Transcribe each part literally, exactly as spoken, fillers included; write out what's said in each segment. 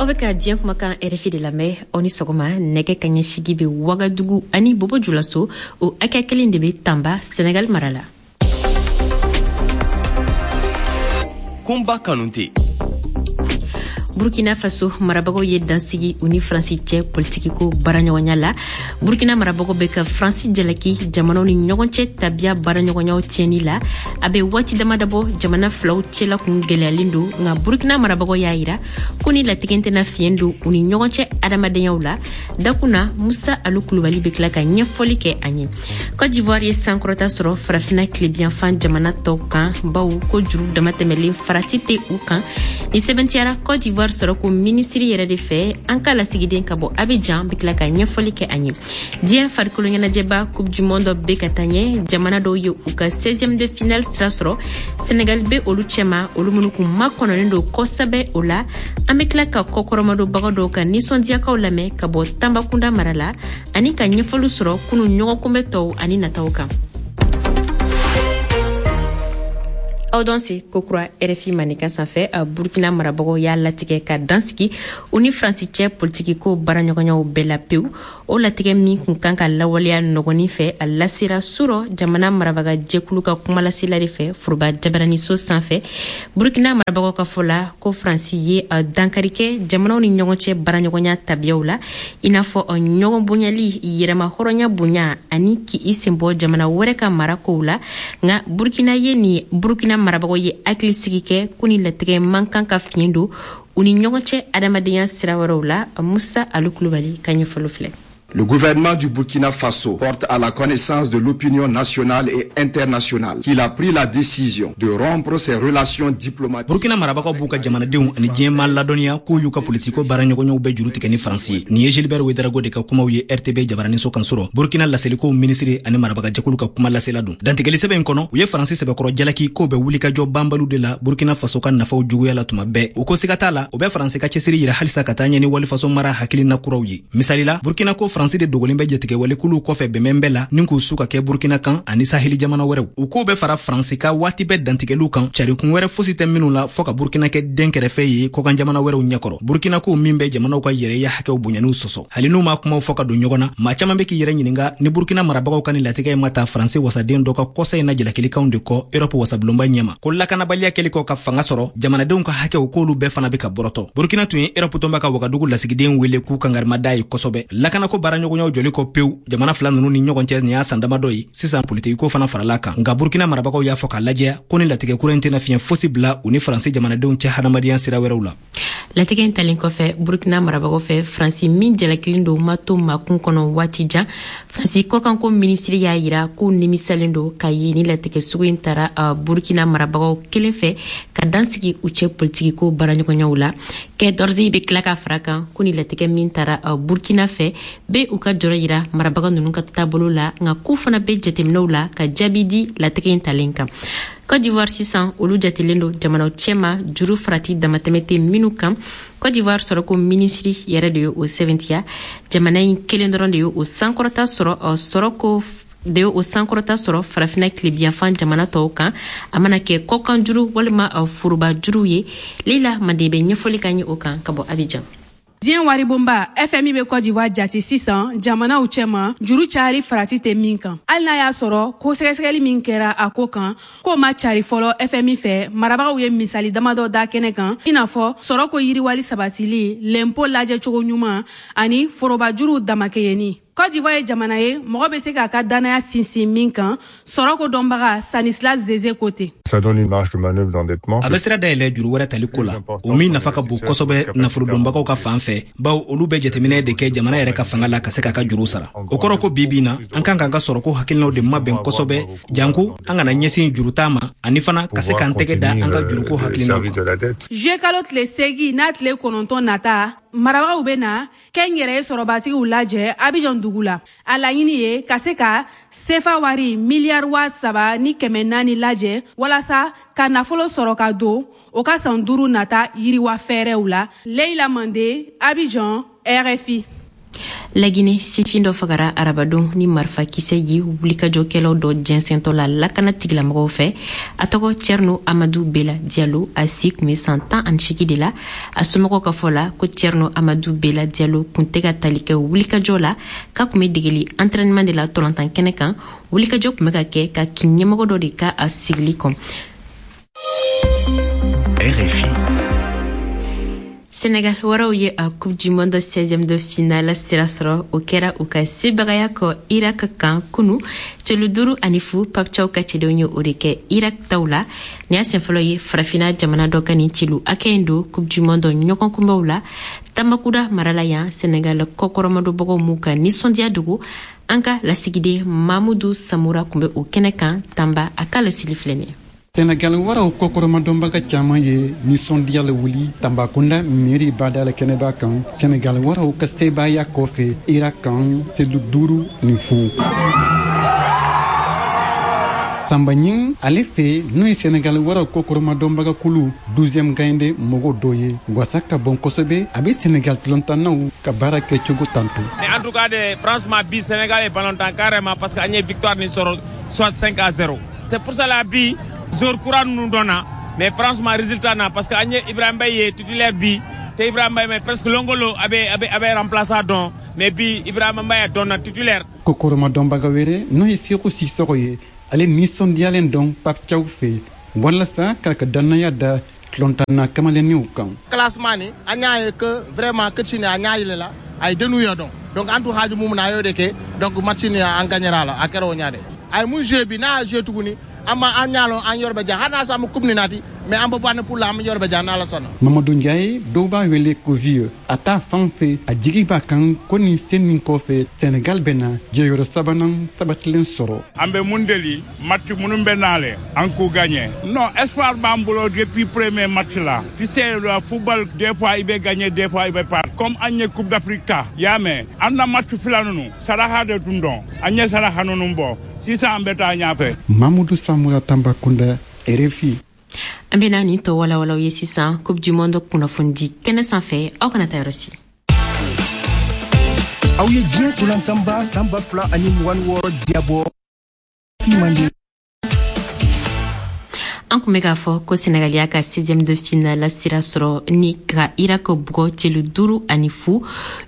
Aw bɛ ka diɲɛ kumakan R F I de lamɛn. Aw ni sɔgɔma. Nɛgɛ kaɲɛ sigi bɛ Wagadugu ani Bobo Julaso, o hakɛ kelen de bɛ Tanba, Senegal mara la. Kunba Kanute. Burkina Faso marabagaw ye dansigi u ni Faransi cɛ politikiko baaraɲɔgɔnya la. Burkina marabagaw bɛ ka Faransi jalaki jamanaw ni ɲɔgɔn cɛ tabiya baaraɲɔgɔnyaw tiɲɛni la. A bɛ waati dama dabɔ, jamana filaw cɛla kun gwɛlɛyalen don, nka Burkina marabagaw y'a yira ko ni latigɛ tɛna fiɲɛ don u ni ɲɔgɔn cɛ adamadenya la. Dakun na, Musa Alu Kulubali bɛ tila ka ɲɛfɔli kɛ an ye. Cote d'Ivoire ye sankɔrɔta sɔrɔ Farafina tilebiyanfan jamana tɔw kan, bawo ko juru damatɛmɛlen farati tɛ u kan. Ni sɛbɛntiyara Cote d'Ivoire sɔrɔ ko minisiri yɛrɛ de fɛ. An ka lasigiden ka bɔ Abidjan bɛ tila ka ɲɛfɔli kɛ an ye. Diɲɛ farikolo ɲɛnajɛba Coupe du monde bɛ ka taa ɲɛ. Jamana dɔw ye u ka seizième de finale sira sɔrɔ. Senegal bɛ olu cɛma, olu minnu kun makɔnɔnen don kosɛbɛ. O la, an bɛ tila ka kɔkɔrɔmadonbaga dɔw ka nisɔndiyakaw lamɛn ka bɔ Tanbakunda mara la, ani ka ɲɛfɔli sɔrɔ kunu ɲɔgɔnkunbɛ tɔw ani nataw kan. Aw danse kokura R F I Maninka sanfɛ. Burkina marabagaw y'a latigɛ ka dansigi u ni Faransi cɛ politikiko baaraɲɔgɔnyaw bɛɛ la pewu. O latigɛ min kun kan ka lawaleya nɔgɔnin fɛ, a lasera surɔ jamana marabaga jɛkulu ka kumalasela de fɛ foroba jabaraniso sanfɛ. Burkina marabagaw ka fɔ la ko Faransi ye dankari kɛ jamanaw ni ɲɔgɔn cɛ baaraɲɔgɔnya tabiyaw la, i n'a fɔ ɲɔgɔn bonyali, yɛrɛma hɔrɔnya bonya ani k'i sen bɔ jamana wɛrɛ ka mara kow la. Nka Burkina ye ni Burkina marabagaw ye hakilisigi kɛ ko ni latigɛ man kan ka fiɲɛ don u ni ɲɔgɔn cɛ adamadenya sira wɛrɛw la. Musa Alu Kulubali ka ɲɛfɔli filɛ. Le gouvernement du Burkina Faso porte à la connaissance de l'opinion nationale et internationale qu'il a pris la décision de rompre ses relations diplomatiques. Burkina marabagaw b'u ka jamanadenw ani diɲɛma ladɔnniya k'u y'u ka politiko baaraɲɔgɔnyaw bɛɛ juru tigɛ ni Faransi ye. Nin ye Gilbert Ouedraogo de ka kumaw ye R T B jabaraniso kan sɔrɔ. Burkina laselikow minisiri ani marabagajɛkulu ka kuma lasela don. Dantigɛli sɛbɛn in kɔnɔ, u ye Faransi sɛbɛkɔrɔ jalaki k'o bɛ wulikajɔ banbaliw de la Burkina Faso ka nafaw juguya la tuma bɛɛ. U ko siga t'a la, o bɛ Faransi ka cɛsiri yira halisa ka taa ɲɛ ni walifaso mara hakilina kuraw ye. Misali la, Burkina ko Faransi de dogolen bɛ jatigɛwalekuluw kɔfɛ bɛnbɛn bɛɛ la ni k'u su ka kɛ Burkina kan ani Saheli jamana wɛrɛw. U k'o bɛ fara Faransi ka waati bɛɛ dantigɛliw kan, carikun wɛrɛ fosi tɛ minnu la fɔɔ ka Burkina kɛ den kɛrɛfɛ ye kɔkan jamana wɛrɛw ɲɛkɔrɔ. Burkina ko min bɛ jamanaw ka yɛrɛya hakɛw bonyaniw sɔsɔ. Hali n'u ma kumaw fɔ ka don ɲɔgɔn na, maa caman bɛ k'i yɛrɛ ɲininga ni Burkina marabagaw ka ni latigɛ ma ta Faransi wasaden dɔ ka kɔsa in na jalakilikanw de kɔ Erɔpu wasabulonba ɲɛma ko lakanabaliya kɛli kɔ ka fanga sɔrɔ, jamanadenw ka hakɛw k'olu bɛɛ fana bɛ ka bɔrɔtɔ. Burkina tun ye Erɔpu tɔnba ka Wagadugu lasigiden wele k'u kangarimada ye kosɛbɛ. Lakanako baaraɲɔgɔnyaw jɔli kɔ pewu jamana fila nunu ni ɲɔgɔn cɛ, nin y'a san damadɔ ye sisan. Politikiko fana farala kan, nka Burkina marabagaw y'a fɔ k'a lajɛya ko ni latigɛ kura in tɛna fiɲɛ fosi bila u ni Faransi jamanadenw cɛ hadamadenya sira wɛrɛw la. Latigɛ in talen kɔfɛ Burkina marabagaw fɛ, Faransi min jalakilen don ma to makun kɔnɔ waati jan. Faransi kɔkanko minisiri y'a yira k'u nimisalen don ka ye ni latigɛ sugu in tara uh, Burkina marabagaw kelen fɛ ka dansigi u cɛ politikiko baaraɲɔgɔnyaw la. Quai d'Orsay bɛ tila ka fara kan ko ni latigɛ min tara uh, Burkina fɛ bɛ u ka jɔrɔ yira marabaga ninnu ka taabolo la, nka k'u fana bɛ jateminɛw la ka jaabi di latigɛ in talen kan. Côte d'Ivoire sisan, olu jatelen don jamanaw cɛma juru farati damatɛmɛ tɛ minnu kan. Côte d'Ivoire sɔrɔko minisiri yɛrɛ de ye o sɛbɛntiya. Jamana in kelen dɔrɔn de ye o sankɔrɔta sɔrɔ sɔrɔko de ye o sankɔrɔta sɔrɔ Farafina tilebiyanfan jamana tɔw kan, a mana kɛ kɔkan juru walima foroba juru ye. Leila Mande bɛ ɲɛfɔli ka ɲɛ o kan ka bɔ Abidjan. Diɲɛ waribonba F M I bɛ Côte d'Ivoire jati sisan jamanaw cɛma juru cayali farati tɛ min kan, hali n'a y'a sɔrɔ ko sɛgɛsɛgɛli min kɛra a ko kan k'o ma cari fɔlɔ F M I fɛ. Marabagaw ye misali damadɔ da kɛnɛ kan, i n'a fɔ sɔrɔ ko yiriwali sabatili, lɛnpo lajɛcogo ɲuman ani forobajuruw damakɛɲɛni. Côte d'Ivoire ye jamana ye mɔgɔ bɛ se k'a ka dannaya sinsin min kan, sɔrɔ ko dɔnbaga Stanislas Zeze ko ten. Ça donne une marge de manœuvre d'endettement. A bɛ sira dayɛlɛ juru wɛrɛ tali ko la, o min nafa ka bon kosɛbɛ nafolodonbagaw ka fan fɛ, bawo olu bɛ jateminɛ de kɛ jamana yɛrɛ ka fanga la ka se k'a ka juru sara. O kɔrɔ ko bi bi na, an kan k'an ka sɔrɔko hakilinaw de mabɛn kosɛbɛ, janko an kana ɲɛsin juruta ma, ani fana ka se k'an tɛgɛ da an ka juruko hakilinaw kan. Juillet kalo tile seegin n'a tile kɔnɔntɔn nata, marabagaw bɛ na kɛnyɛrɛye sɔrɔbatigiw lajɛ Abidjan dugu la. A laɲini ye ka se ka sefa wari miliyari waa saba ni kɛmɛ naani lajɛ walasa ka nafolo sɔrɔ ka don o ka san duuru nata yiriwa fɛɛrɛw la. Leila Mande, Abidjan, R F I. Laginɛ, sifin dɔ fagara arabadon ni marifakisɛ ye wulikajɔkɛlaw dɔ jɛnsɛntɔ la lakana tigilamɔgɔw fɛ. A tɔgɔ Thierno Amadou Bela Diallo, a si tun bɛ san tan ani seegin de la. A somɔgɔw ka fɔ la ko Thierno Amadou Bela Diallo kun tɛ ka tali kɛ wulikajɔ la, k'a tun bɛ degeli entraînement de la tɔlɔntan kɛnɛ kan. Wulikajɔ tun bɛ ka kɛ ka kin ɲɛmɔgɔ dɔ de ka a sigili kɔn. R F I. Sénégal waraw ye a Coupe du Monde seizième de finale sira sɔrɔ. O kɛra u ka sebagaya kɔ Irak kan kunu, celu duuru ani fu. Pape Thiaw ka cɛdenw ye o de kɛ Irak taw la. Nin y'a sen fɔlɔ ye Farafina jamana dɔ ka nin celu hakɛ in don Coupe du Monde ɲɔgɔn kunbɛnw la. Tambakuda mara la yan, Sénégal kɔkɔrɔmadonbagaw m'u ka nisɔndiya dogo. An ka lasigiden Mamudu Samura tun bɛ o kɛnɛ kan Tamba, a ka laseli filɛ nin ye. Senegal waraw kɔkɔrɔmadɔnbaga caman ye nisɔndiya la wuli Tambakunda miiri bada la kɛnɛba kan, Senegal waraw ka sebaaya kɔfɛ Irak kan selu duuru ni fu. Samba Ɲing ale fɛ, n'o ye Senegal waraw kɔkɔrɔmadɔnbaga kulu douzième gaynde mɔgɔ dɔ ye, wasa ka bon kosɛbɛ. A bɛ Senegal tulontannaw ka baara kɛcogo tanto. Mais en tout cas de, franchement, bi Sénégal ye ballon tan carrément, parce que an ye victoire nin sɔrɔ soit cinq à zéro. C'est pour cela bi joueur kura ninnu dɔnna. Mais franchement, résultat na, parce que an ye Ibrahima Mbaye ye titulaire bi te Ibrahima Mbaye mais presque longolo a bɛ a bɛ a bɛ remplaçant dɔn, mais bi Ibrahima Mbaye dɔnna titulaire. Kɔkɔrɔmadɔnbaga wɛrɛ, n'o ye Seku Sisɔgɔ ye, ale nisɔndiyalen dɔn Pape Thiaw fɛ walasa k'a ka dannaya da tulontanna kamalenninw kan. Classement ni an y'a ye que vraiment coach ni a ɲa yɛlɛ la, a ye dennu ye dɔn. Donc an tun haaju mun na, a y'o de kɛ. Donc match ni an gagnera la, a kɛra o ɲa de. A ye mun joué bi, n'a y'a joué tuguni, an ma an ɲa lɔn an yɔrɔ bɛ jan. Hali n'a sɔrɔ an bɛ coupe nin nati, mais an bɛ bɔ ani poule la, an bɛ yɔrɔ bɛ jan n'Ala sɔnna. Mamadu Ndiaye, dɔw b'a wele ko Vieux, a t'a fan fɛ, a jigi b'a kan ko nin sen nin kɔfɛ, Senegal bɛna jɔyɔrɔ sabanan sabatilen sɔrɔ. An bɛ mun deli, match minnu bɛ n'ale, an k'u gagner. Non, espoir b'an bolo depuis premier match la. Tu sais, le football, des fois i bɛ gagner, des fois i bɛ perdre. Comme an ye Coupe d'Afrique ta y'a mɛn, an na match fila ninnu saraka de tun dɔn, an ye saraka ninnu bɔ, sisan an bɛ taa ɲɛfɛ. Mamudu Samura, Tambakunda, R F I. An bena nin tɔ walawalaw ye sisan Coupe du Monde kunnafonidi kɛnɛ sanfɛ. Aw kana taa yɔrɔ si. Aw ye diɲɛ tolantanba san ba fila ani mugan ni wɔɔrɔ diyabɔ mande. An kun bɛ k'a fɔ ko Senegal y'a ka seizième de finale sira sɔrɔ ni ka Irak bugɔ celu duuru ani fu.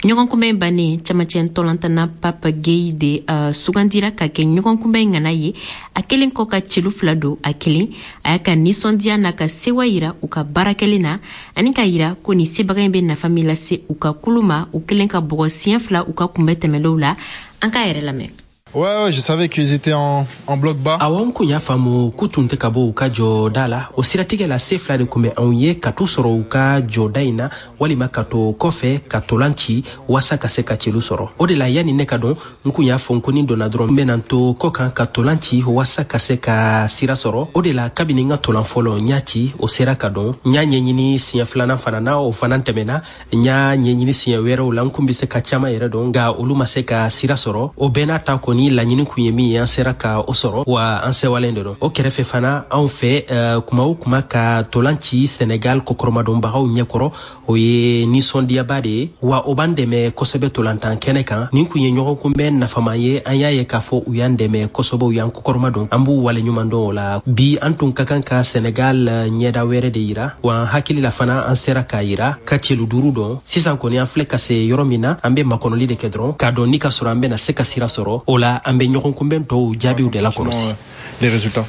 Ɲɔgɔn kunbɛn bannen, camancɛ ntɔlantanna Pape Gueye de uh, sugandira ka kɛ ɲɔgɔn kunbɛn ŋana ye, a kelen kɔ ka celu fila don. A kelen a y'a ka nisɔndiya n'a ka sewa yira u ka baara kɛlen na, ani k'a yira ko nin sebaga in bɛ nafa min lase u ka kulu ma, u kelen ka bugɔ siɲɛ fila u ka kunbɛn tɛmɛlenw la. An k'a yɛrɛ lamɛn. Ouais, ouais, je savais qu'ils étaient en, en bloc bas. Awɔ, n kun y'a faamu k'u tun tɛ ka bɔ u ka jɔda la. O siratigɛ la, se fila de kun bɛ anw ye: ka t'u sɔrɔ u ka jɔda in na, walima ka to kɔfɛ ka tolan ci waasa ka se ka celu sɔrɔ. O de la, yanni ne ka dɔn, n kun y'a fɔ n ko ni donna dɔrɔn, n bɛna n to kɔ kan ka tolan ci waasa ka se ka sira sɔrɔ. O de la, kabini n ka tolan fɔlɔ n y'a ci, o sera ka dɔn. N y'a ɲɛɲini siɲɛ filanan fana na, o fana tɛmɛna. N y'a ɲɛɲini siɲɛ wɛrɛw la, n kun bɛ se ka caman yɛrɛ dɔn, nka olu ma se ka sira sɔrɔ. O bɛɛ n'a ta kɔni, laɲini kun ye min ye, an sera ka o sɔrɔ, wa an sewalen de don. O kɛrɛfɛ fana, anw fɛ uh, kuma o kuma ka tolan ci Senegal kɔkɔrɔmadɔnbagaw ɲɛkɔrɔ, o ye nisɔndiyaba de ye, wa o b'an dɛmɛ kosɛbɛ tolantan kɛnɛ kan. Nin kun ye ɲɔgɔn kunbɛn nafama ye. An y'a ye k'a fɔ u y'an dɛmɛ kosɛbɛ, u y'an kɔkɔrɔma don, an b'u waleɲuman dɔn o la. Bi an tun ka kan ka Senegal ɲɛda wɛrɛ de yira, wa an hakili la fana an sera k'a yira ka celu duuru dɔn. Sisan kɔni, an filɛ ka se yɔrɔ min na, an be makɔnɔli de kɛ dɔrɔn k'a dɔn ni ka sɔrɔ an bena se ka sira sɔrɔ. O la, an be ɲɔgɔn kunbɛn tɔw jaabiw de la kɔlɔsi. Les résultats.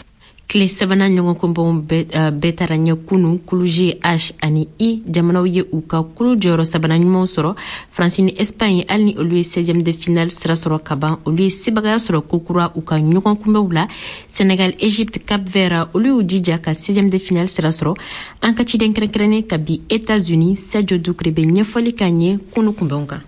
Tile sabanan ɲɔgɔn kunbɛnw bɛɛ taara ɲɛ kunu. Kulu G, H ani I jamanaw ye u ka kulu jɔyɔrɔ sabanan ɲumanw sɔrɔ. Faransi ni Espagne, hali ni olu ye seizième de finale sira sɔrɔ ka ban, olu ye sebagaya sɔrɔ kokura u ka ɲɔgɔn kunbɛnw la. Senegal, Egypte, Cap Vert, olu y'u jija ka seizième de finale sira sɔrɔ. An ka ciden kɛrɛnkɛrɛnnen ka bi États-Unis, Sadio Dukure, bɛ ɲɛfɔli k'an ye kunu kunbɛnw kan.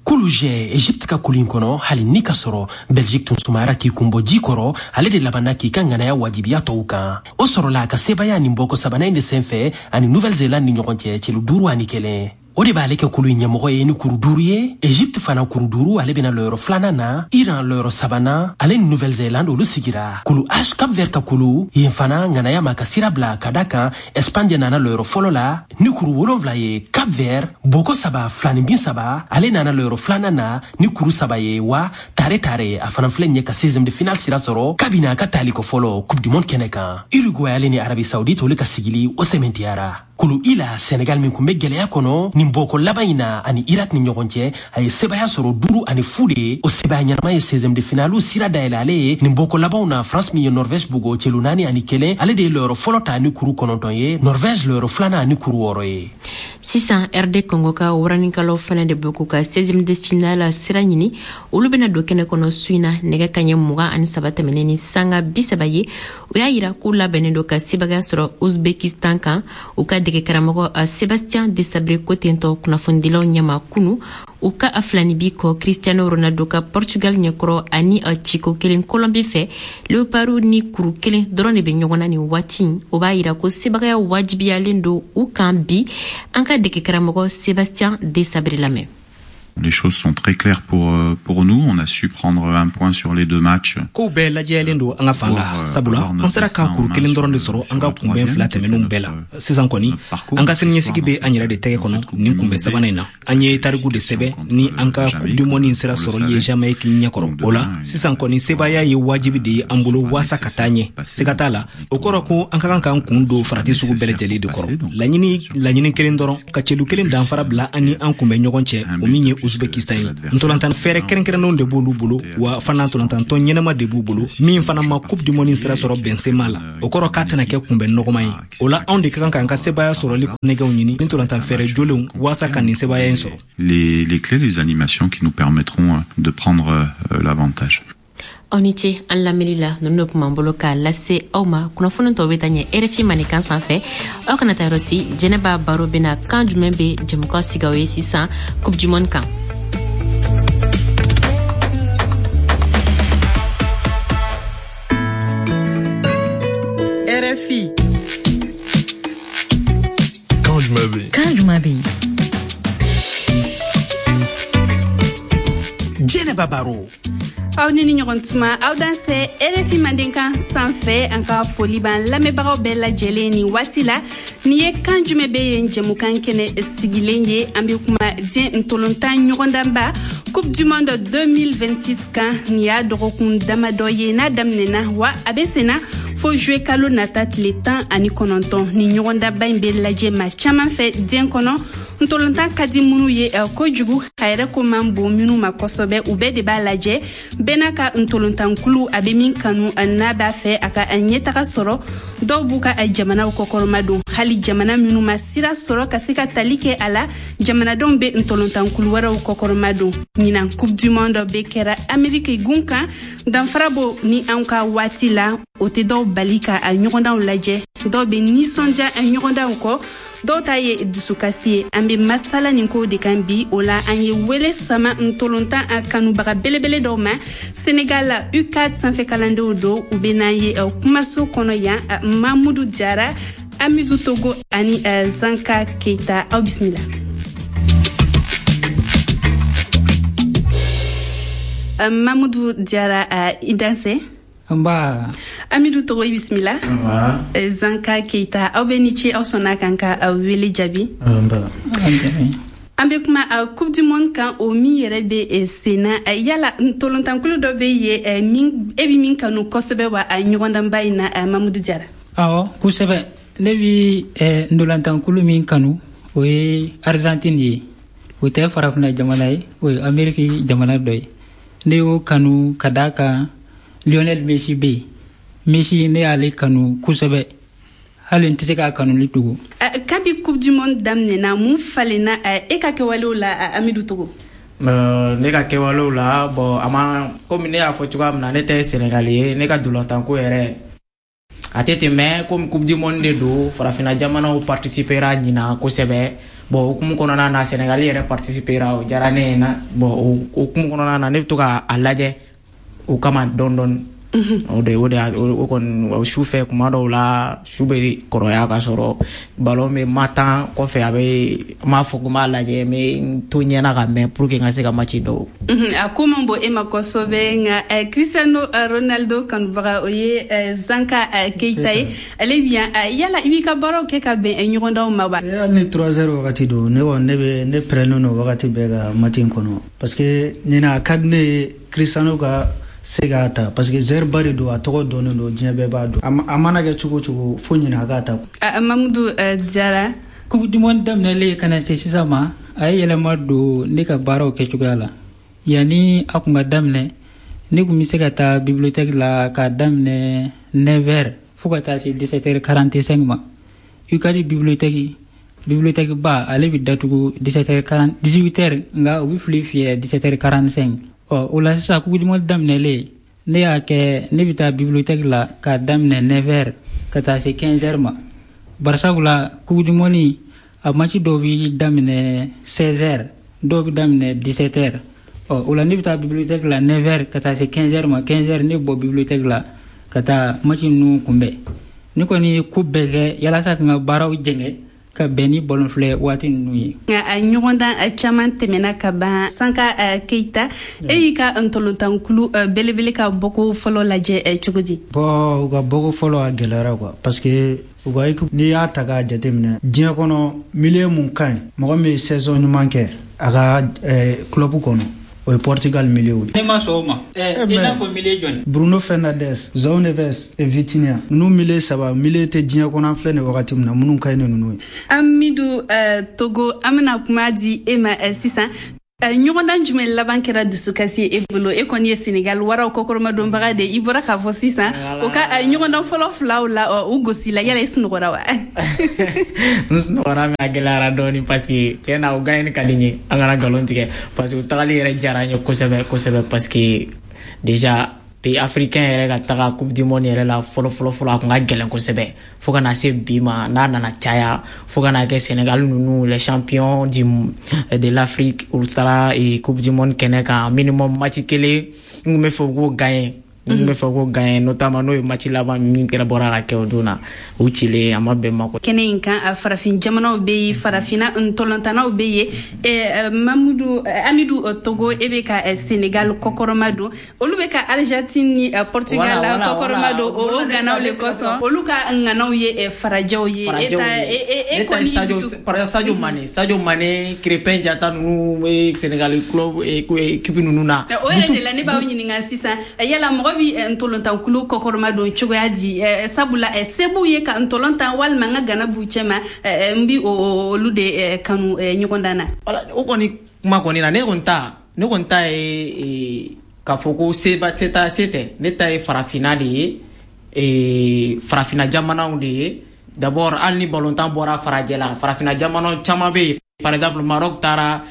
Kulu G, Egypte ka kulu in kɔnɔ, hali ni ka sɔrɔ Belgique tun sumayara k'i kun bɔ ji kɔrɔ, ale de labanna k'i ka ŋanaya wajibiya tɔw kan. O sɔrɔla a ka sebaya nin bɔko sabanan in de senfɛ ani Nouvelle Zélande ni ɲɔgɔn cɛ, celu duuru ani kelen. O de b'ale kɛ kulu in ɲɛmɔgɔ ye ni kuru duuru ye. Egypte fana kuru duuru, ale bena lɔyɔrɔ filanan na. Iran lɔyɔrɔ sabanan, ale ni Nouvelle Zélande olu sigira. Kulu H, Cap Vert ka kulu yen fana, ŋanaya ma ka sira bila ka da kan, Espagne de nana lɔyɔrɔ fɔlɔ la ni kuru wolonfila ye. Cap Cap Vert boko saba fila ni bin saba, ale nana lɔyɔrɔ filanan na ni kuru saba ye. Wa tare tare a fana filɛ nin ye ka seizième de finale sira sɔrɔ kabini a ka taliko fɔlɔ Coupe du monde kɛnɛ kan. Uruguay ale ni Arabie Saoudite, olu ka sigili o sɛmɛntiyara. Kulu I la, Senegal min kun bɛ gwɛlɛya kɔnɔ nin bɔko laban in na, ani Irak ni ɲɔgɔn cɛ, a ye sebaya sɔrɔ duuru ani fu de ye. O sebaya ɲɛnama ye seizième de finale sira dayɛlɛ ale ye nin bɔko labanw na. France min ye Norvège bugo celu naani ani kelen, ale de ye lɔyɔrɔ fɔlɔ ta ni kuru kɔnɔntɔn ye, Norvège lɔyɔrɔ filanan ani kuru wɔɔrɔ ye. Sisan, R D Congo ka waranikalaw fana de bɛ k'u ka seizième de finale sira ɲini. Olu bɛna don kɛnɛ kɔnɔ su in na nɛgɛ kaɲɛ mugan ani saba tɛmɛnen ni sanga bi saba ye. O y'a yira k'u labɛnnen don ka sebagaya sɔrɔ Uzbekistan kan. U ka dege karamɔgɔ Sébastien Desabre ko tentɔ kunnafonidilaw ɲɛma kunu u ka a filani bi kɔ Cristiano Ronaldo ka Portugal ɲɛkɔrɔ ani ciko kelen Colombie fɛ. Leopardu ni kuru kelen dɔrɔn de bɛ ɲɔgɔn na nin waati. O b'a yira ko sebagaya wajibiyalen don u kan bi. An ka dege karamɔgɔ Sébastien Desabre lamɛn. Les choses sont très claires pour, euh, pour nous. On a su prendre un point sur les deux matchs. Kow bɛɛ lajɛyalen don an ka fan la, sabula an sera ka kuru kelen dɔrɔn de sɔrɔ an ka kunbɛn fila tɛmɛnenw bɛɛ la. Sisan kɔni, an ka siniɲɛsigi bɛ an yɛrɛ de tɛgɛ kɔnɔ nin kunbɛn sabanan in na. An ye tariku de sɛbɛn ni an ka Coupe du monde sira sɔrɔli ye Jamaïque ɲɛkɔrɔ. O la sisan kɔni, sebaaya ye wajibi de ye an bolo waasa ka taa ɲɛ. Siga t'a la, o kɔrɔ ko an ka kan k'an kun don farati sugu bɛɛ lajɛlen de kɔrɔ. Laɲini laɲini kelen dɔrɔn, ka celu kelen danfara bila an ni an kunbɛn ɲɔgɔn cɛ, o min ye Uzbekistan ye. Ntolantan fɛɛrɛ kɛrɛnkɛrɛnnenw de b'olu bolo, wa fana ntolantantɔn ɲɛnama de b'u bolo min fana ma Coupe du monde sira sɔrɔ Benzema la. O kɔrɔ k'a tɛna kɛ kunbɛn nɔgɔman ye. O la, anw de ka kan k'an ka sebaaya sɔrɔli nɛgɛw ɲini ni ntolantan fɛɛrɛ jolenw waasa ka nin sebaaya in sɔrɔ. Les, les clés, les animations qui nous permettront de prendre euh, l'avantage. Aw ni ce an lamɛnli la. Ninnu de kun b'an bolo k'a lase aw ma. Kunnafoni tɔw bɛ taa ɲɛ R F I Maninkan sanfɛ. Aw kana taa yɔrɔ si, Jɛnɛba Baro bɛna kan jumɛn bɛ jɛmukan sigi aw ye sisan Coupe du monde kan. R F I. Kan jumɛn bɛ yen? Kan jumɛn bɛ yen? Jɛnɛba Baro. Aw ni ni ɲɔgɔn tuma, aw dansɛ R F I Mandenkan sanfɛ. An ka foli b'an lamɛnbagaw bɛɛ lajɛlen nin waati la. Nin ye kan jumɛn bɛ yen jɛmukan kɛnɛ sigilen ye. An bɛ kuma diɲɛ ntolontan ɲɔgɔndanba Coupe du monde deux mille vingt-six kan. Nin y'a dɔgɔkun damadɔ ye n'a daminɛna, wa a bɛ senna fo juillet kalo nata tile tan ani kɔnɔntɔn. Ni ɲɔgɔndanba in bɛ lajɛ maa caman fɛ diɲɛ kɔnɔ, ntolontan ka di minnu ye kojugu, a yɛrɛ ko man bon minnu ma kosɛbɛ, u bɛɛ de b'a lajɛ. Bɛɛ n'a ka ntolontankulu, a bɛ min kanu n'a b'a fɛ a ka ɲɛtaga sɔrɔ. Dɔw b'u ka jamanaw kɔkɔrɔma don. Hali jamana minnu ma sira sɔrɔ ka se ka tali kɛ a la, jamanadenw bɛ ntolontankulu wɛrɛw kɔkɔrɔma don. Ɲinan Coupe du monde bɛ kɛra Ameriki gun kan. Danfara bo ni an ka waati la, o tɛ dɔw bali ka a ɲɔgɔndanw lajɛ. Dɔw bɛ nisɔndiya ɲɔgɔndanw kɔ, dɔw ta ye dusukasi ye. An bɛ masala nin ko de kan bi. O la, an ye wele sama ntolontan a kanubaga belebele dɔw ma. Senegal la, U C A D sanfɛ kalandenw don. U bɛ n'an ye kumaso kɔnɔ yan: Mamudu Jara, Amidu Togo ani Zanka Keita. Aw bisimila. Mamudu Jara, i dansɛ. Nba. Amidu Togo, i bisimila. Zanka Keita, aw bɛ ni ce, aw sɔnna kan ka wele jaabi. An bɛ kuma Coupe du monde kan, o min yɛrɛ bɛ sen na. Yala ntolontankulu dɔ bɛ yen min e bɛ min kanu kosɛbɛ wa a ɲɔgɔndanba in na, Mamudu Jara? Awɔ, kosɛbɛ. Ne bi ntolantankulu min kanu, o ye Argentine ye. O tɛ farafinna jamana ye, o ye Ameriki jamana dɔ ye. Ne y'o kanu ka d'a kan Lionel Messi bɛ yen. Messi, ne y'ale kanu kosɛbɛ, hali n tɛ se k'a kanuli dogo. Kabi Coupe du monde daminɛna, mun falenna e ka kɛwalew la, Amidu Togo? Ne ka kɛwalew la, bon, a ma komi ne y'a fɔ cogoya min na, ne tɛ Senegali ye. Ne ka dolantanko yɛrɛ a tɛ ten, mais komi Coupe du monde de don, farafinna jamanaw participera ɲina kosɛbɛ. Bon, hukumu kɔnɔna na, Senegali yɛrɛ participera, o diyara ne ye na. Bon, o hukumu kɔnɔna na, ne bɛ to ka a lajɛ o kama dɔɔni dɔɔni. O de o de o kɔni su fɛ kuma dɔw la su bɛ kɔrɔya ka sɔrɔ ballon bɛ ma tan kɔfɛ a bɛ n b'a fɔ ko n b'a lajɛ n bɛ n to ɲɛna ka mɛn pour que n ka se ka match dɔw. A ko man bon e ma kosɛbɛ, nka Cristiano Ronaldo kanubaga o ye Zanka Keita ye, ale bi yan. Yala i b'i ka baaraw kɛ ka bɛn ɲɔgɔndanw ma wa? Hali ni trois heures wagati don, ne kɔni ne bɛ ne pɛrɛnnen don wagati bɛɛ ka match in kɔnɔ, parce que ɲinan a ka di ne ye Cristiano ka se k'a ta, parce que joueur ba de don, a tɔgɔ dɔnnen don, diɲɛ bɛɛ b'a dɔn. A mana kɛ cogo o cogo fo ɲinan a k'a ta. Mamudu Jara, Coupe du monde daminɛlen ka na se sisan ma, a ye yɛlɛma don ne ka baaraw kɛcogoya la. Yanni a kun ka daminɛ, ne kun bɛ se ka taa bibliothèque la k'a daminɛ neuf heures fo ka taa se dix-sept heures quarante-cinq ma. U C A D bibliothèque bibliothèque ba ale bɛ datugu dix-sept heures quarante, dix-huit heures, nka u bɛ fili fiyɛ dix-sept heures quarante-cinq. Ɔ o la sisan, Coupe du monde daminɛlen, ne y'a kɛ ne bɛ taa bibliothèque la k'a daminɛ neuf heures ka taa se quinze heures ma, barisabula Coupe du monde a match dɔw bɛ daminɛ seize heures, dɔw bɛ daminɛ dix-sept heures. Ɔ o la ne bɛ taa bibliothèque la neuf heures ka taa se quinze heures ma. quinze heures ne bɔ bibliothèque la ka taa match ninnu kunbɛn. Ne kɔni ye ko bɛɛ kɛ yalasa ka n ka baaraw jɛngɛ ka bɛn ni ballon filɛ waati ninnu ye. Nka a ɲɔgɔndan caman tɛmɛna ka ban. Sanka Keita, e y'i ka ntolontankulu belebele ka bɔko fɔlɔ lajɛ cogo di? Bon, u ka bɔko fɔlɔ a gɛlɛyara quoi, parce que u ka équipe, n'i y'a ta k'a jateminɛ, diɲɛ kɔnɔ milieu mun ka ɲi, mɔgɔ min ye saison ɲuman kɛ a ka club kɔnɔ, o ye Portugal milieu de. Ne ma sɔn o ma. I n'a fɔ milieu jɔni? Bruno Fernandes, João Neves et Vitinha. Ninnu milieu saba, milieu tɛ diɲɛ kɔnɔ an filɛ nin wagati min na minnu ka ɲi ni ninnu ye. Amidu Togo, an bɛna kuma di e ma sisan. Ɲɔgɔndan jumɛn laban kɛra dusukasi ye e bolo? E kɔni ye Senegal waraw kɔkɔrɔmadonbaga de, i bɔra k'a fɔ sisan o ka ɲɔgɔndan fɔlɔ filaw la u gosila, yala i sunɔgɔra wa? N sunɔgɔra, mais a gɛlɛyara dɔɔni, parce que tiɲɛ na o gagné ka di n ye, an kana nkalon tigɛ, parce que u tagali yɛrɛ diyara n ye kosɛbɛ kosɛbɛ, parce que déjà pays africain yɛrɛ ka taga Coupe du monde yɛrɛ la fɔlɔ fɔlɔ fɔlɔ, a kun ka gɛlɛn kosɛbɛ, fo ka na se bi ma n'a nana caya, fo ka na kɛ Sénégal ninnu, les champions du de l'Afrique, olu taara Coupe du monde kɛnɛ kan, minimum match kelen n kun bɛ fɛ u k'o gagner, n kun bɛ fɛ k'o gagner, notamment n'o ye match laban min kɛra bɔra ka kɛ o don na, u cilen a ma bɛn ma. Kɛnɛ in kan, farafin jamanaw bɛ yen, farafinna ntolontannaw bɛ yen. Mamudu Amidu Togo, e bɛ ka Sénégal kɔkɔrɔma don, olu bɛ ka Argentine ni Portugal kɔkɔrɔma don, o ganaw le kosɔn, olu ka ŋanaw ye farajɛw ye. E ta e kɔni Sadio Mané, Sadio Mané, Crépin Diatta ninnu bɛ Sénégal club équipe ninnu na. O yɛrɛ de la ne b'aw ɲininka sisan, yala mɔgɔ bi ntolontankulu kɔkɔrɔma don cogoya di? Sabula se b'u ye ka ntolontan walima n ka gana b'u cɛ ma, n bi olu de kanu ɲɔgɔndan na. O kɔni kuma kɔni na, ne kɔni ta ne kɔni ta ye k'a fɔ ko se se ta se tɛ, ne ta ye farafinna de ye, farafinna jamanaw de ye. D'abord, hali ni balontan bɔra farajɛ la, farafinna jamanaw caman bɛ yen. Par exemple, Maroc taara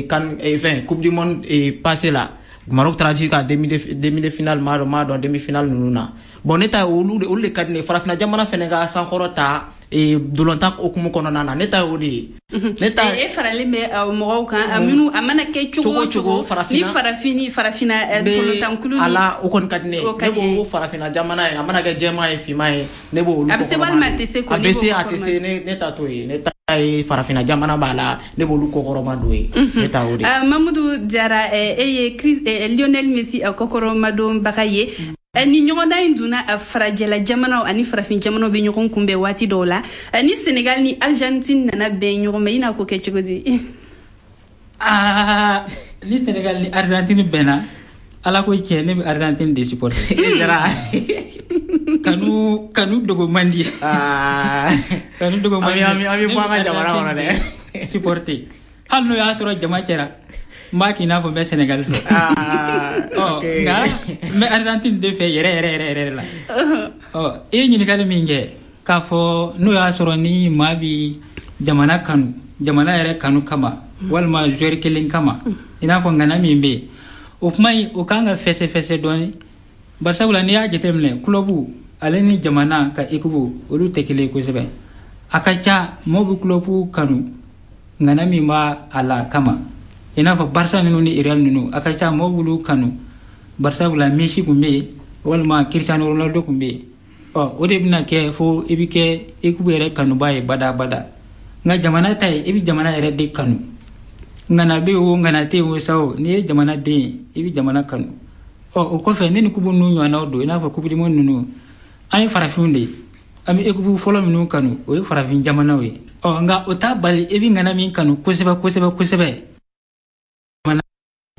kan fɛn Coupe du monde passé la, Maroc taara jusqu'à demi de finale, maa dɔn maa dɔn demi finale ninnu na. Bon, ne ta ye olu de olu de ka di ne ye, farafinna jamana fɛnɛ ka sankɔrɔ ta dolontan hukumu kɔnɔna na, ne ta ye o de ye. Ne ta e faralen bɛ mɔgɔw kan minnu a mana kɛ cogo o cogo ni farafin ni farafinna tolontankulu ni ala, o kɔni ka di ne ye. Ne b'o ko farafinna jamana ye, a mana kɛ jɛman ye, finman ye, ne b'o olu. A bɛ se walima a tɛ se? A bɛ se, a tɛ se, ne ne ta t'o ye. Ne ta ye farafinna jamana b'a la, ne b'olu kɔkɔrɔma don ye, ne ta o de ye. Mamudu Jara, e ye Lionel Messi kɔkɔrɔmadonbaga ye. Ni ɲɔgɔndan in donna, farajɛla jamanaw ani farafin jamanaw bɛ ɲɔgɔn kunbɛn waati dɔw la, ni Senegal ni Argentine nana bɛn ɲɔgɔn ma, i n'a ko kɛ cogo di? Aa, ni Senegal ni Argentine bɛnna, ala ko tiɲɛ, ne bɛ Argentine de supporter. Kanu kanu dogo man di, kanu dogo man di. An bɛ bɔ an ka jamana kɔnɔ dɛ. Supporter, hali n'o y'a sɔrɔ jama cɛra, n b'a k'i n'a fɔ n bɛ Senegal fɛ. Ɔ nka n bɛ Argentine de fɛ yɛrɛ yɛrɛ yɛrɛ yɛrɛ la. Ɔ i ye ɲininkali min kɛ k'a fɔ n'o y'a sɔrɔ ni maa bi jamana kanu, jamana yɛrɛ kanu kama walima joueur kelen kama, i n'a fɔ ŋana min bɛ yen, o kuma in o kan ka fɛsɛfɛsɛ dɔɔni, barisabula n'i y'a jateminɛ, club ale ni jamana ka équipe olu tɛ kelen ye kosɛbɛ. A ka ca mɔgɔw bɛ club kanu ŋana min b'a a la kama, i n'a fɔ Barça ninnu ni Real ninnu, a ka ca mɔgɔw b'olu kanu barisabula Messi kun bɛ yen, walima Cristiano Ronaldo tun bɛ yen. Ɔ o de bɛna kɛ fo i bɛ kɛ équipe yɛrɛ kanuba ye badabada. Nka jamana ta ye, i bɛ jamana yɛrɛ de kanu. Ŋana bɛ yen o, ŋana tɛ yen o sa o, n'i ye jamana den ye, i bɛ jamana kanu. Ɔ o kɔfɛ, ne ni coupe ninnu ɲɔgɔnnaw don, i n'a fɔ coupe du monde ninnu, an ye farafinw de ye. An bɛ équipe fɔlɔ minnu kanu, o ye farafin jamanaw ye. Ɔ nka o t'a bali i bɛ ŋana min kanu kosɛbɛ kosɛbɛ kosɛbɛ,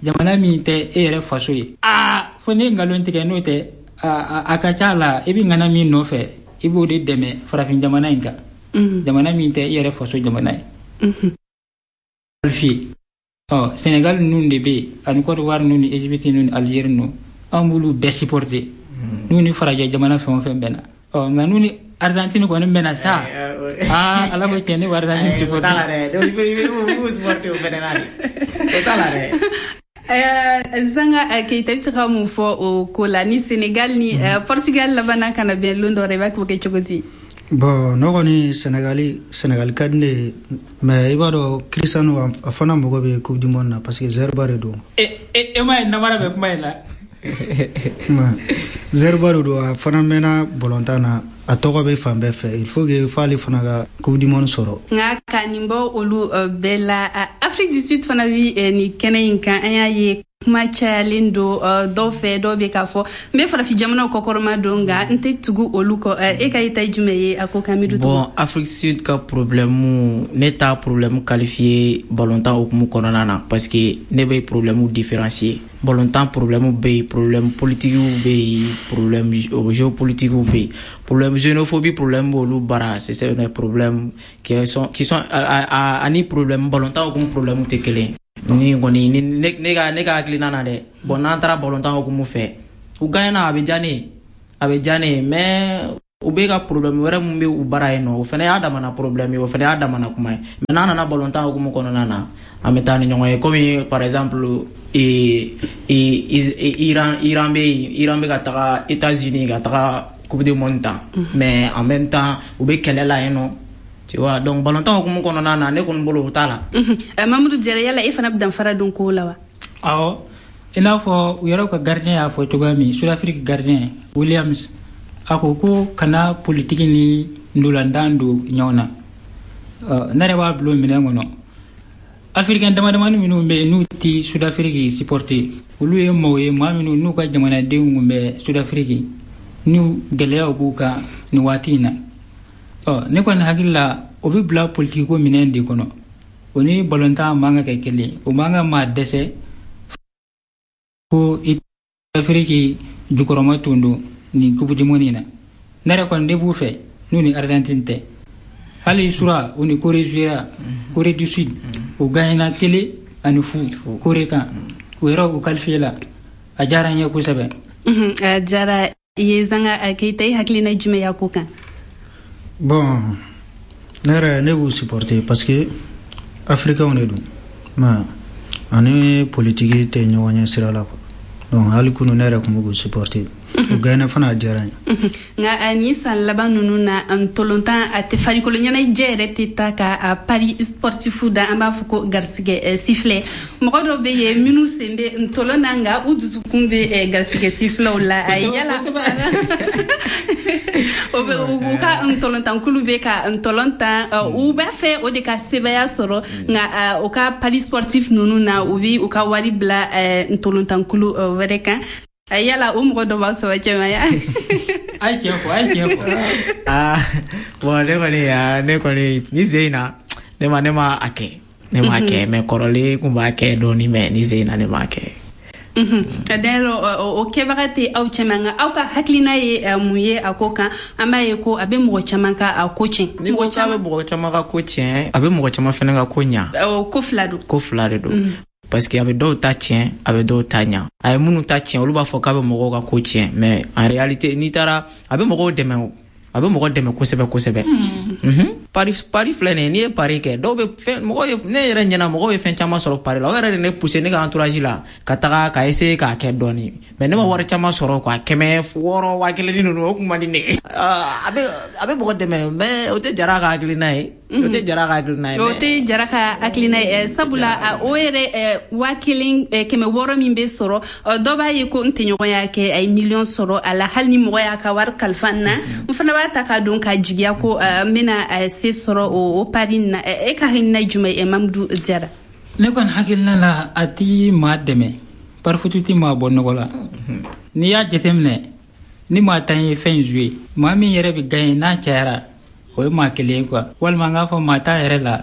jamana min tɛ e yɛrɛ faso ye. Aa fo ne ye nkalon tigɛ, n'o tɛ a ka ca la, i bɛ ŋana min nɔfɛ, i b'o de dɛmɛ farafin jamana in kan, jamana min tɛ i yɛrɛ faso jamana ye. Qualifié. Ɔ Sénégal ninnu de bɛ yen, ani Côte d'Ivoire ninnu ni Égypte ninnu ni Algérie ninnu, an b'olu bɛɛ supporter, n'u ni farajɛ jamana fɛn o fɛn bɛnna. Ɔ nka n'u ni Argentine kɔni bɛnna sa, aa ala ko tiɲɛ, ne bɛ Argentine supporter. O t'a la dɛ, i b'u supporter o fɛnɛ na de, o t'a la dɛ. Zanga Keita, i bɛ se ka mun fɔ o ko la, ni Sénégal ni Portugal labanna ka na bɛn lon dɔ la, i b'a kɛ cogo di? Bon, ne kɔni Sénégali Sénégal ka di ne ye, mais i b'a dɔn Cristiano a fana mago bɛ coupe du monde na, parce que zɛriba de don. E e ma ye namara bɛ kuma in la. Zɛriba de don, a fana mɛnna balontan na, a tɔgɔ bɛ fan bɛɛ fɛ, il faut que f'ale fana ka coupe du monde sɔrɔ. Nka ka nin bɔ olu bɛɛ la, Afrique du Sud fana bi nin kɛnɛ in kan. An y'a ye kuma cayalen don dɔw fɛ, dɔw bɛ k'a fɔ n bɛ farafin jamanaw kɔkɔrɔma don, nka n tɛ tugu olu kɔ. E ka yeta ye jumɛn ye a ko kan, Amidu? Bon, Afrique Sud ka problème, ne t'a problème qualifié balontan hukumu kɔnɔna na, parce que ne bɛ problème différencier. Balontan problème bɛ yen, problème politique bɛ yen, problème géopolitique bɛ yen, problème xénophobie, problème b'olu bara, c'est des problèmes qui sont qui sont ani problème balontan hukumu problème tɛ kelen ye. Ni kɔni ni ne ka ne ka hakilina na dɛ, bon, n'an taara balontan hukumu fɛ, u gagnera, a bɛ diya ne ye, a bɛ diya ne ye, mais u bɛ ka problème wɛrɛ mun bɛ u bara yen nɔ, o fana y'a damana problème ye, o fana y'a damana kuma ye. Mais n'an nana balontan hukumu kɔnɔna na, an bɛ taa ni ɲɔgɔn ye, komi par exemple ee Iran Iran bɛ yen, Iran bɛ ka taga États-Unis ka taga coupe du monde ta, mais en même temps u bɛ kɛlɛ la yen nɔ. Tu vois, donc balontan hukumu kɔnɔna na, ne kɔni bolo o t'a la. Mamadou Diarra, yala e fana bɛ danfara dɔn ko la wa? Awɔ, i n'a fɔ u yɛrɛ ka gardien y'a fɔ cogoya min, Sud-Afrique gardien Williams, a ko ko kana politiki ni ndolantan don ɲɔgɔn na. Ne yɛrɛ b'a bila o minɛn kɔnɔ. Africain damadamani minnu bɛ yen n'u ti Sud-Afrique supporter, olu ye maaw ye, maa minnu n'u ka jamanadenw kun bɛ Sud-Afrique, n'u gɛlɛyaw b'u kan nin waati in na. Ɔ ne kɔni hakili la, o bɛ bila politiki ko minɛn de kɔnɔ. O ni balontan man ka kɛ kelen, o man ka maa dɛsɛ ko i Afiriki jukɔrɔma tun don nin coupe du monde in na. Ne yɛrɛ kɔni ne b'u fɛ n'u ni Argentine tɛ. Hali sura u ni Corée jouera, Corée du Sud, u gagnera kelen ani fu Corée kan, u yɛrɛ u qualifié la, a diyara n ye kosɛbɛ. A diyara i ye Zanga Keita, i hakilina jumɛn y'a ko kan? Bon, ne yɛrɛ ne b'u supporter parce que africains de don, mais ani politiki tɛ ɲɔgɔn ɲɛ sira la quoi. Donc hali kunu ne yɛrɛ tun bɛ k'u supporter, u gagné fana, a diyara n ye. Nka nin san laban ninnu na, ntolantan a tɛ farikolo ɲɛnajɛ yɛrɛ tɛ taa ka a paris sportif da, an b'a fɔ ko garisɛgɛ sifflet. Mɔgɔ dɔw bɛ yen minnu sen bɛ ntolan na, nka u dusukun bɛ garisɛgɛ siffletw la. Yala u ka ntolantankulu bɛ ka ntolan tan, u b'a fɛ o de ka sebaaya sɔrɔ, nka u ka paris sportif ninnu na, u bɛ u ka wari bila ntolantankulu wɛrɛ kan. Yala o mɔgɔ dɔ b'aw saba cɛma ya? A ye tiɲɛ fɔ, a ye tiɲɛ fɔ. Aa bon, ne kɔni ne kɔni ni sen in na, ne ma ne ma a kɛ, ne ma kɛ, mais kɔrɔlen kun b'a kɛ dɔɔni, mais ni sen in na ne ma kɛ. D'ailleurs o kɛbaga tɛ aw cɛma, nka aw ka hakilina ye mun ye a ko kan? An b'a ye ko a bɛ mɔgɔ caman ka a ko tiɲɛ. Ni ko k'a bɛ mɔgɔ caman ka ko tiɲɛ, a bɛ mɔgɔ caman fana ka ko ɲa. Ko fila don. Ko fila de don. Parce que a bɛ dɔw ta tiɲɛ, a bɛ dɔw ta ɲa. A ye minnu ta tiɲɛ, olu b'a fɔ k'a bɛ mɔgɔw ka ko tiɲɛ, mais en réalité n'i taara, a bɛ mɔgɔw dɛmɛ, a bɛ mɔgɔ dɛmɛ kosɛbɛ kosɛbɛ. Pari pari filɛ nin ye, n'i ye pari kɛ dɔw bɛ fɛn, mɔgɔw ye, ne yɛrɛ ɲɛna mɔgɔw ye fɛn caman sɔrɔ pari la. O yɛrɛ de ne poussé ne ka entourage la ka taga ka essayer k'a kɛ dɔɔni, mais ne ma wari caman sɔrɔ quoi, kɛmɛ wɔɔrɔ waa kelen ni ninnu, o kun man di ne ye. A bɛ a bɛ mɔgɔ dɛmɛ, mais o tɛ Jara ka hakilina ye. O tɛ Jara ka hakilina ye. O tɛ Jara ka hakilina ye, sabula o yɛrɛ waa kelen kɛmɛ wɔɔrɔ min bɛ sɔrɔ, dɔ b'a ye ko n tɛɲɔgɔn y'a kɛ, a ye miliyɔn sɔrɔ a la. Hali ni mɔgɔ y'a ka wari kalifa n na, n fana b'a ta k'a don ka jigiya ko n bɛna se sɔrɔ o pari in na. E ka hakilina ye jumɛn ye, Mamudu Jara? Ne kɔni hakilina la, a ti maa dɛmɛ, parifutu ti maa bɔ nɔgɔ la. N'i y'a jateminɛ, ni maa tan ye fɛn jouer, maa min yɛrɛ bɛ gagner n'a cayara, o ye maa kelen ye quoi, walima n k'a fɔ maa tan yɛrɛ la,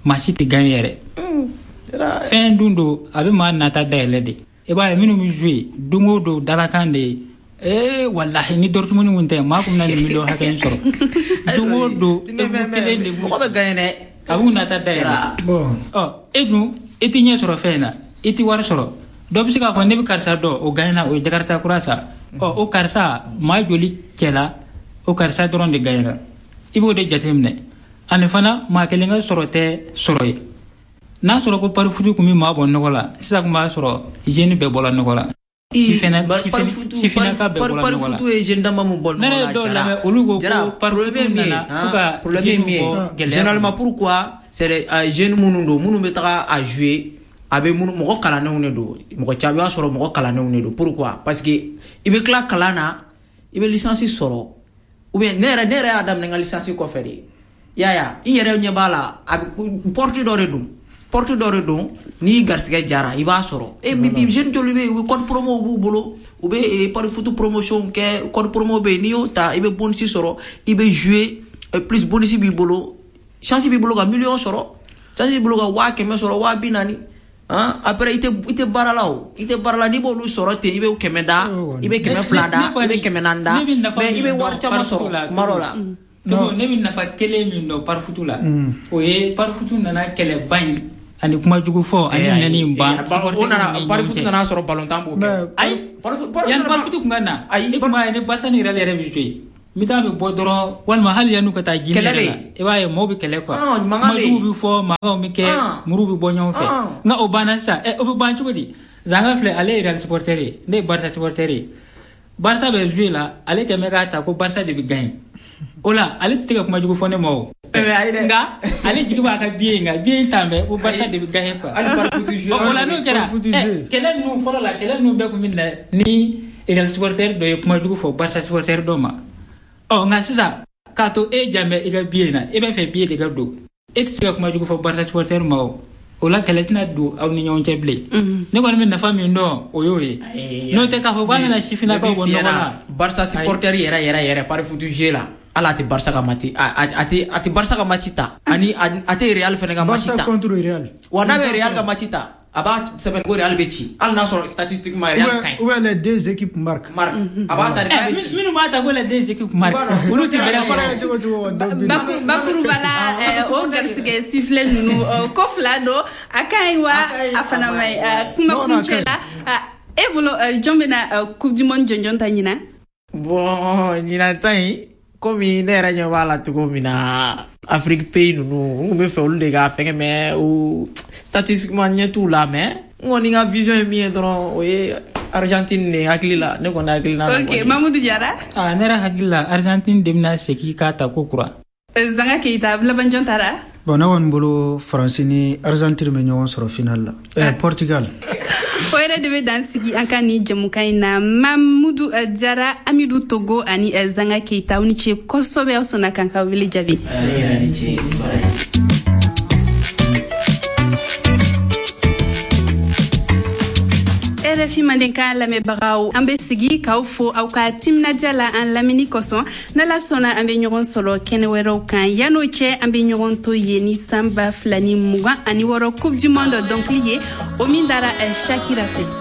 maa si tɛ gagner yɛrɛ. Fɛn dun don, a bɛ maa nata dayɛlɛ de. I b'a ye minnu bɛ jouer don o don, dalakan de ye. Ee walahi, ni Dortmund kun tɛ, maa kun bɛna nin miliyɔn hakɛ in sɔrɔ. Don o don ewu kelen de b'u, mɔgɔ bɛ gagner dɛ, a b'u nata dayɛlɛ. Ɔ e dun, e ti ɲɛ sɔrɔ fɛn in na, i ti wari sɔrɔ. Dɔ bɛ se k'a fɔ ne bɛ karisa dɔn, o gagner, o ye Jakarta kura san. Ɔ o karisa maa joli cɛla, o karisa dɔrɔn de gagner. I b'o de jateminɛ. Ani fana maa kelen ka sɔrɔ tɛ sɔrɔ ye. N'a sɔrɔ ko parifutu kun bɛ maa bɔ nɔgɔ la, sisan kun b'a sɔrɔ jeune bɛɛ bɔra nɔgɔ la. Sifinnaka bɛɛ bɔra nɔgɔ la. Parifutu ye jeune dama mun bɔ nɔgɔ la. Ne yɛrɛ dɔw lamɛn, olu ko ko parifutu nana ko ka jeune bɔ gɛlɛya. Généralement pourquoi c'est les jeunes minnu don, minnu bɛ taga a jouer, a bɛ minnu mɔgɔ kalannenw de don, mɔgɔ caman i b'a sɔrɔ mɔgɔ kalannenw de don. Pourquoi? Parce que i bɛ tila kalan na, i bɛ licence sɔrɔ, ou bien ne yɛrɛ ne yɛrɛ y'a daminɛ n ka licence kɔfɛ de. I y'a ye, i yɛrɛ ɲɛ b'a la, a bɛ porte dɔ de don. Porte dɔ de don, n'i garisɛgɛ jara i b'a sɔrɔ. E bi jeune joli bɛ yen, u bɛ code promo b'u bolo, u bɛ pari foot promotion kɛ, code promo bɛ yen, n'i y'o ta i bɛ bonus sɔrɔ, i bɛ jouer, plus bonus b'i bolo, chance b'i bolo ka million sɔrɔ, chance b'i bolo ka waa kɛmɛ sɔrɔ, waa bi naani. Hein? Après i tɛ i tɛ baara la o, i tɛ baara la, n'i b'olu sɔrɔ ten, i bɛ kɛmɛ da, i bɛ kɛmɛ fila da, i bɛ kɛmɛ naani da, mais i bɛ wari caman sɔrɔ kuma dɔ la. Togo, ne bɛ nafa kelen min dɔn parifutu la, o ye parifutu nana kɛlɛba in ani kuma jugu fɔ ani nɛni in ban. O nana parifutu nana sɔrɔ balontan b'o kɛ. Ayi, yanni parifutu kun ka na, i kun b'a ye ni Barca ni Real yɛrɛ bɛ jouer, mi-temps bɛ bɔ dɔrɔn, walima hali yan'u ka taa ji min yɛrɛ la, i b'a ye mɔgɔw bɛ kɛlɛ quoi, kuma jugu bɛ fɔ, mankanw bɛ kɛ, muru bɛ bɔ ɲɔgɔn fɛ. Nka o banna sisan, ɛ o bɛ ban cogo di? Zanga filɛ, ale ye Real supporter ye, ne ye Barca supporter ye. Barca bɛ jouer la, ale kɛmɛ k'a ta ko Barca de bɛ gagner. O la ale tɛ se ka kuma jugu fɔ ne ma o. Nka ale jigi b'a ka billet, nka billet in t'an bɛɛ ko Barca de bɛ gagner quoi. O la n'o kɛra, kɛlɛ ninnu fɔlɔ la, kɛlɛ ninnu bɛɛ kun bɛ na ni Real supporter dɔ ye kuma jugu fɔ Barca supporter dɔ ma. Ɔ nka sisan k'a to e jan bɛ i ka billet na, e b'a fɛ billet de ka don, e tɛ se ka kuma jugu fɔ Barca supporter ma o. O la kɛlɛ tɛna don aw ni ɲɔgɔn cɛ bilen. Ne kɔni bɛ nafa min dɔn, o y'o ye. N'o tɛ k'a fɔ k'a nana sifinnakaw bɔ nɔgɔ la. Barca supporter yɛrɛ yɛrɛ yɛrɛ pari foot jeu la, ala a tɛ Barca ka match, a tɛ a tɛ Barca ka match ta, ani a tɛ Real fana ka match ta. Barca contre Real. Wa n'a bɛ Real ka match ta, a b'a sɛbɛn ko Real bɛ ci, hali n'a sɔrɔ statistiquement Real ka ɲi. Ou bien les deux équipes marquent. Marquent. A b'a ta de k'a bɛ ci. Minnu b'a ta ko les deux équipes marquent, olu tɛ bɛrɛ sɔrɔ. Bakuruba la, o garisɛgɛ sifflet ninnu, ko fila don, a ka ɲi wa a fana ma ɲi. Kuma kuncɛ la, e bolo jɔn bɛna coupe du monde jɔnjɔn ta ɲinan? Bon, ɲinan ta in, komi ne yɛrɛ ɲɛ b'a la cogo min na, Afrique pays ninnu, n kun bɛ fɛ olu de ka fɛngɛ, mais o statistiquement ɲɛ t'u la, mais n kɔni ka vision ye min ye dɔrɔn, o ye Argentine de hakili la, ne kɔni hakili la. Ok, Mamudu Jara. Ah, ne yɛrɛ hakili la, Argentine de bɛna segin k'a ta ko kura. Zanga Keita, laban jɔn taara? Bon, ne kɔni bolo Faransi ni Argentine bɛ ɲɔgɔn sɔrɔ final la. Eh, Portugal. O yɛrɛ de bɛ dan sigi an ka nin jɛmukan in na. Mamudu Jara, Amidu Togo ani Zanga Keita, aw ni ce kosɛbɛ, aw sɔnna k'an ka wele jaabi. E yɛrɛ ni ce. R F I Mandenkan lamɛnbagaw, an bɛ sigi k'aw fo aw ka timinadiya la an lamɛnni kosɔn. N'Ala sɔnna, an bɛ ɲɔgɔn sɔrɔ kɛnɛ wɛrɛw kan. Yan'o cɛ, an bɛ ɲɔgɔn to yen ni san ba fila ni mugan ani wɔɔrɔ coupe du monde dɔnkili ye, o min dara Shakira fɛ.